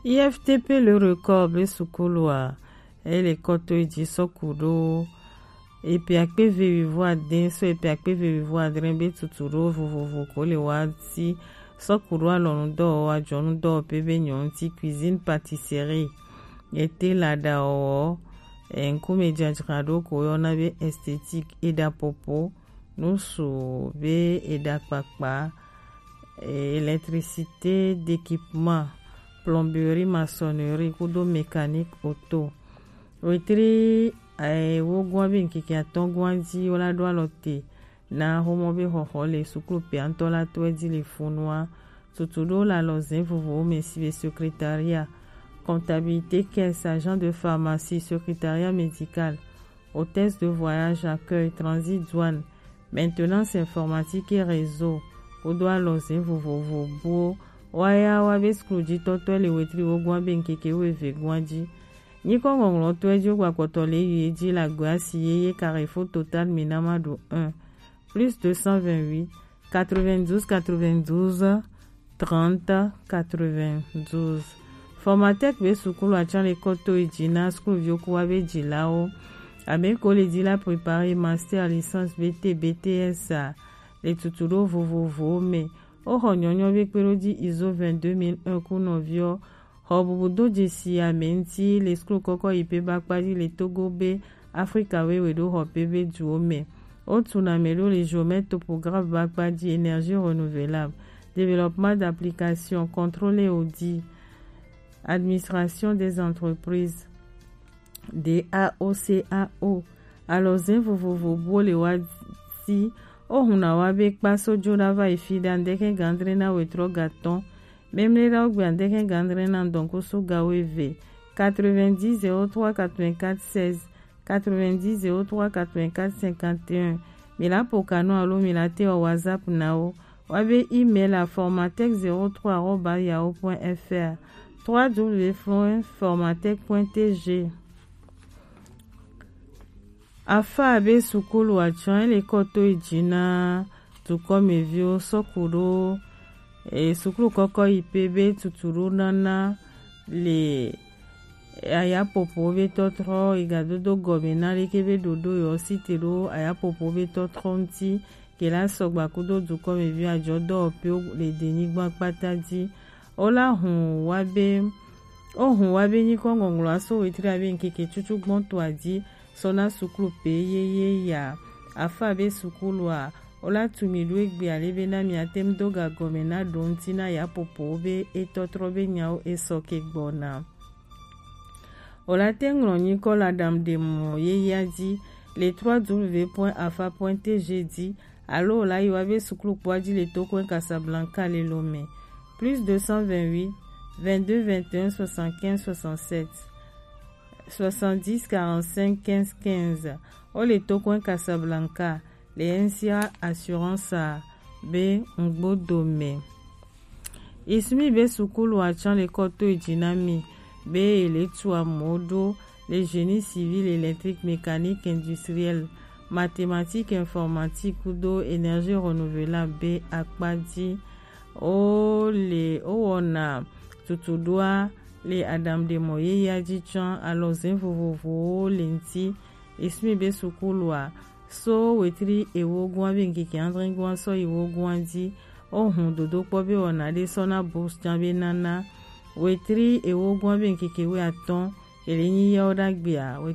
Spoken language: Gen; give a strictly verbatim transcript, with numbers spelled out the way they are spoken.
I F T P Le Record be sukulu a, ele kɔ to eji sɔku ɖo epe akpe eve wivo ade sɔ epe akpe eve wivo adre be tutu ɖo vovovo ko le wa si sɔku ɖo alɔnu dɔwɔwɔ, ajɔnu dɔwɔƒe be nyɔnu ti, cuisine, pâtisserie, ete laɖa wɔwɔ, e, ŋkume dzadzraɖo ko yɔna be esthétique, eɖapopo, nusu be eɖakpakpa, e, électricité d'équipement, plomberie, maçonnerie kudo mécanique auto. Wetri, e, wogoa be ŋkeke atɔgoa ji wola ɖo alɔ te na homɔ be xɔxɔ le sukulu pea ŋutɔ la tɔe ji le funua. Tutu ɖo le alɔze vovovowo me si be secrétariat, comptabilité, caisse, agent de pharmacie, secrétariat médical, hôtesse de voyage, accueil, transit, douane, maintenance informatique et réseau, kudo alɔze vovovo buwo. Waya wa be sukulu jitɔtɔe le wetri wogoa be ŋkeke wueve goa ji. Nyikɔ ŋɔŋlɔtɔe ji wogbakpɔtɔ le yi ji le agbe asi yeye Carrefour Total Minamadu un, plus deux cent vingt-huit, quatre-vingt-douze, quatre-vingt-douze, trente, quatre-vingt-douze. Formatec be sukulu atsã le kɔ to yi ji na sukuluviwo ku wa be jilawo. Ame ko le ji la préparer master, licence, B T, B T S a le tutu ɖo vovovowo me. Woxɔ nyɔnyɔ be kpeɖoji ISO vingt-deux mille un ku nɔviwo. Xɔ bubu do jesi ame ŋuti le sukulu kɔkɔ yi pe ba kpa ji le Togo be Afrika wewe ɖo xɔ pe be duwo me. Wotu na ame ɖo le géomètre topographe ba kpa ji, énergie renouvelable, développement d'application, contrôle et audit, administration des entreprises, D A O C A O. Alɔze vovovo buwo le wa si wohuna wa be kpa so jo ɖa va yi fi ɖa ŋdeke gandre na wetrɔ gatɔn. Memle ɖa wo gbe ŋdeke gandre na ŋdɔnkusu ga weve. Quatre-vingt-dix zéro trois quatre-vingt-quatre seize, quatre-vingt-dix zéro trois quatre-vingt-quatre cinquante et un. Mi la po kanu alo mi la te wɔ WhatsApp na wo. Wa be email a formatec zéro trois arobase yahoo point F R, trois W point formatec point T G. Afa be sukulu atsã le kɔ to yi ji na dukɔmeviwo sɔku ɖo, e, sukulu kɔkɔ yi pe be tutu ɖo nana le ayapopo be tɔtrɔ, igadodo gɔme na leke be ɖoɖo yewo site ɖo ayapopo be tɔtrɔ ŋuti, ke la sɔgba kudo dukɔmevi ajɔ dɔwɔƒewo le denyigba kpata ji. Wola hun wa be, wohun wa be nyikɔ ŋɔŋlɔ aso wetri abe ŋkeke tutu gbɔn to aji sɔ na sukulu pe yeye ya. Afa be sukulu a, wola tu mi ɖo egbe ale be na mi ate ŋu do ga gɔme na ɖo ŋuti na yapopo be etɔtrɔ be nyawo esɔ ke gbɔna. Wòle ate ŋu ŋlɔ nyikɔ le aɖaŋuɖemɔ yeyea dzi le trois W point afa point T G dzi, alo wòle ayi wa be suklukpoa dzi le Tokoe Casablanca le Lomé. Plus deux cent vingt-huit, vingt-deux vingt et un soixante-quinze soixante-sept, soixante-dix quarante-cinq quinze quinze. Wole Tokoe Casablanca le N C A Assurance be ŋgbodo me. Ismi be sukulu atsã le kɔ to edzi na mi be ele tu amewo ɖo le génie civil, électrique, mécanique, industriel, mathématique, informatique kudo énergie renouvelable be akpa dzi. Wo le wowɔna tutuɖoa le aɖaŋuɖemɔ yeyea dzi tsã. Alɔze vovovowo le ŋuti. Ismi be sukulua so wetri ewo goa be ŋkeke adre goa sɔ yi wo goa dzi. Wohun dodokpɔ be wɔna ɖe sɔ na bourse tsã be nana. Wetri ewo goa be ŋkeke wuiatɔ̃ ele nyi yawo ɖagbea, wetri